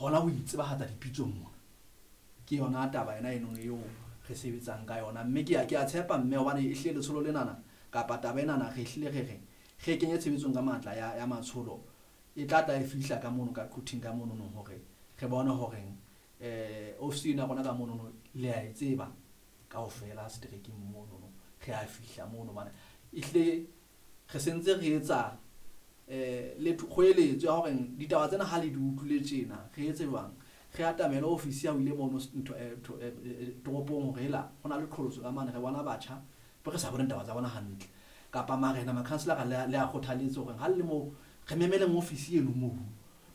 Hona ho itsebahatsa dipitsong mona. Ke yona taba ena enono eo re sebetsang ka yona. Mme ke a tshepa mme hobane e hlile letsholo lenana kapa taba enana re hlile re re re kenye tshebetsong ka matla ya matsholo. E tla tla e fihla ka mono ka Quthing ka mono no hore re bone hore ofisi ena rona ka mono no le a e tseba kaofela seterekeng mono no re a fihla mono hobane ehlile re sentse re etsa le kgoeletso ya hore ditaba tsena ha le di utlwile tjena re etse jwang, re atamele ofisi ya o ile mono ntho toropong hore hela ho na le qholotso ka mane, re bona batjha be re sa boneng taba tsa bona hantle kapa marena makhanselara le a kgothaletse hore ha le mo re memeleng ofisi eno moo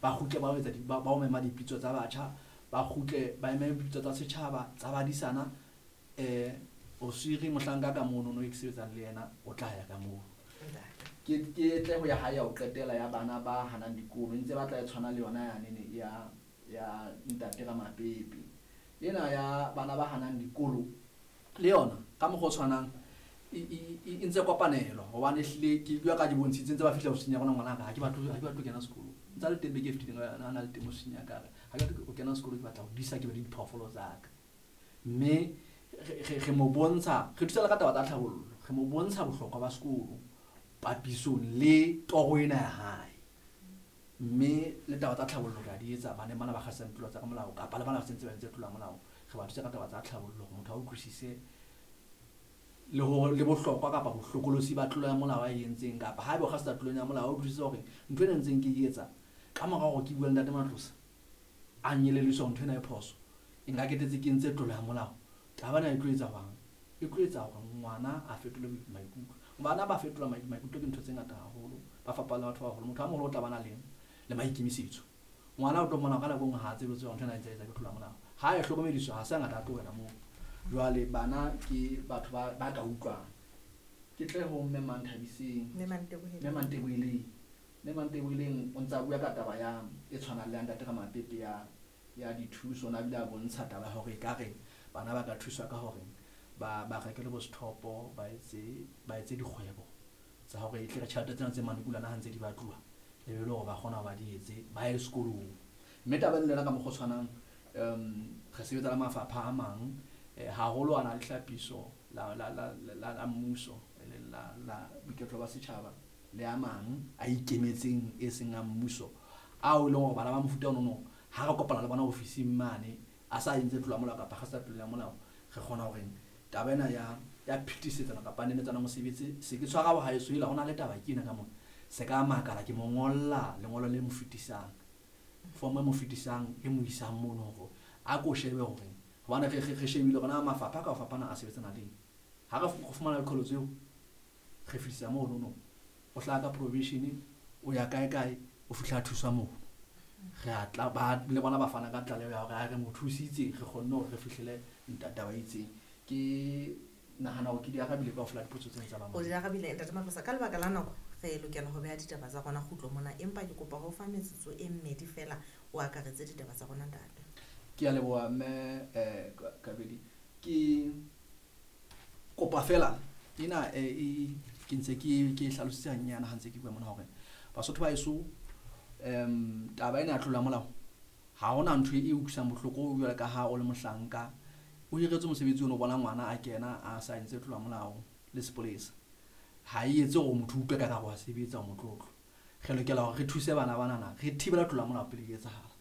ba kgutle ba etsa ba o mema dipitso tsa batjha, ba kgutle ba eme dipitso tsa setjhaba tsa badisana. Osiri mohlanka ka mono no e ke sebetsang le yena o tla ya ka moo. Ke tle ho ya hae ya ho qetela ya bana ba hanang dikolo ntse ba tla e tshwana le yona ya nene ya ntate Ramapepe ena ya bana ba hanang dikolo le yona ka mokgwa o tshwanang e ntse kopanelo hobane ehlile ke bua ka di bontshitse ntse ba fihla ofising ya rona ngwana ka ha ke batle ho kena sekolo ntsa le teng beke e fetileng a na le teng ofising ya ka ha ke batle ho kena sekolo ke batla ho disa ke be le diphoofolo tsa ka. Mme re mo bontsha re thusa le ka taba tsa tlhabollo, re mo bontsha bohlokwa ba sekolo papisong le toro ena ya hae. Mme le taba tsa tlhabollo re a di etsa baneng bana ba kgasang tulo tsa ka molao kapa le bana ba sentse ba entse tulo ya molao, re ba thusa ka taba tsa tlhabollo hore motho a utlwisise le hore le bohlokwa kapa bohlokolosi ba tlolo ya molao a e entseng kapa haeba o kgasa tlolo ya molao a utlwisise hore ntho ena ntseng ke e etsa ka mora hore ke bue le ntate Matlosa a nyelelliswa hore ntho ena e phoso e nka ketetse ke entse tlolo ya molao. Taba ena e tlo etsa jwang? E tlo etsa hore ngwana a fetole maikutlo. Bana ba fetola maikutlo ke ntho tse ngata haholo, ba fapana le batho ba baholo. Motho a moholo o tla ba na le maikemisetso. Ngwana o tlo mmona ka nako e nngwe ha a tsebe hore ntho ena e ntse e etsa ke tlolo ya molao. Ha e hlokomediswa ha se hangata a tlohela moo. Jwale bana ke batho ba ka utlwang. Ke tle ho Mme Manthabiseng. Mme Manteboheleng. Mme Manteboheleng. Mme Manteboheleng o ntse a bua ka taba ya e tshwanang le ya ntate Ramapepe ya dithuso. O na bile a bontsha taba ya hore ekare bana ba ka thuswa ka hore ba rekele bo sethopo, ba etse dikgwebo tsa hore e tle re tjhelete tsena tse manekulana ha ntse di batluwa, e be le hore ba kgona hore ba di etse, ba ye sekolong. Mme taba ena le yona ka mokgwa o tshwanang, re sebetsa le mafapha a mang, haholo a na le hlapiso la mmuso, e leng la boiketlo ba setjhaba, le a mang a ikemetseng e seng a mmuso, ao e leng hore bana ba mofuta ono ha re kopana le bona ofising mane, a sa entse tlolo ya molao kapa ha sa tlolo ya molao, re kgona hore taba ena ya phetisetsana kapa nenetsana mosebetsi, se ke tshwara wa haeso ela, ho na le taba ke ena ka mona. Se ka makala ke mo ngolla lengolo le mo fetisang, form e mo fetisang e mo isang mono hore a ko shebe hore hobane re shebile hore na mafapha ka ho fapana a sebetsana le eng. Ha re fumana diqholotso eo, re fetisa mono no. O hlaha ka probation, o ya kae kae, o fihla a thuswa mono. Re a tla, ba, le bona ba fana ka tlaleho ya hore ha re mo thusitse, re kgonne hore re fihlele taba e itseng. Ke nahana hore ke di arabile kaofela dipotso tsena tsa ba O di arabile, Ntate Matlosa. Ka lebaka la nako, re lokela ho beha ditaba tsa rona kgutlo mona, empa ke kopa ho fa metsotso e mmedi fela o akaretse ditaba tsa rona, ntate. Ke a leboha, mme, Kabedi. Ke kopa fela ena, e, ke ntse ke hlalositse hanyane ha ntse ke bua mona hore Basotho ba heso, taba ena ya tlolo ya molao ha hona ntho e utlwisang bohloko jwalo ka ha o le mohlanka o hiretswe mosebetsi ono, o bona ngwana a kena a sa entse tlolo ya molao le sepolesa. Ha e etse hore motho utlwe ka re wa sebetsa o motlotlo. Re lokela hore re thuse bana banana, re thibela tlolo ya molao pele e etsahala.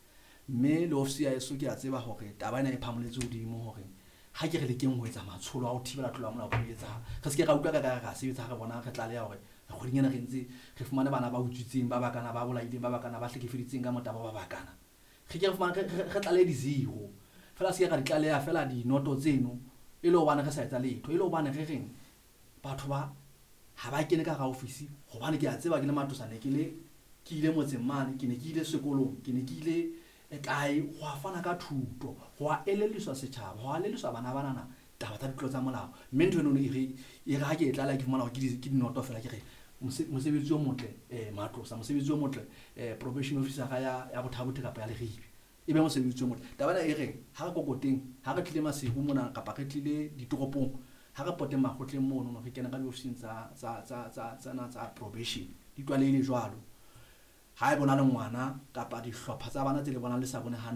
Mme le ofisi ya heso ke a tseba hore taba ena e phamoletse hodimo hore ha ke re lekeng ho etsa matsholo a ho thibela tlolo ya molao pele e etsahala. Re se ke ra utlwa ka re ra sebetsa ha re bona re tlaleha hore kgweding ena re ntse re fumane bana ba utswitseng, ba bakana, ba bolaileng, ba bakana, ba hlekefeditseng ka motabo, ba bakana. Re ke re fumane, re tlalehe di-zero. Feela se ke ra di tlaleha fela dinoto tseno, e le hobane re sa etsa letho, e le hobane re reng batho ba ha ba kene ka hara ofisi, hobane ke a tseba ke le Matlosa ne ke le, ke ile motseng mane, ke ne ke ile sekolong, ke ne ke ile kae, ho a fana ka thuto, ho a elelliswa setjhaba, ho a elelliswa bana banana taba tsa ditlolo tsa molao. Mme ntho eno e re, e re ha ke e tlaleha ke fumana hore ke dinoto fela, ke re mosebetsi o motle, Matlosa, mosebetsi o motle, probation officer ya Botha-Bothe kapa ya Leribe, e be mosebetsi o motle. Taba ena e re ha re kokoteng, ha re tlile Maseru mona kapa re tlile ditoropong, ha re poteng makgotleng mono, re kena ka diofising tsena tsa probation, di tlwalehile jwalo. Ha e bona le ngwana kapa dihlopha tsa bana tse le bonang le sa bone hantle.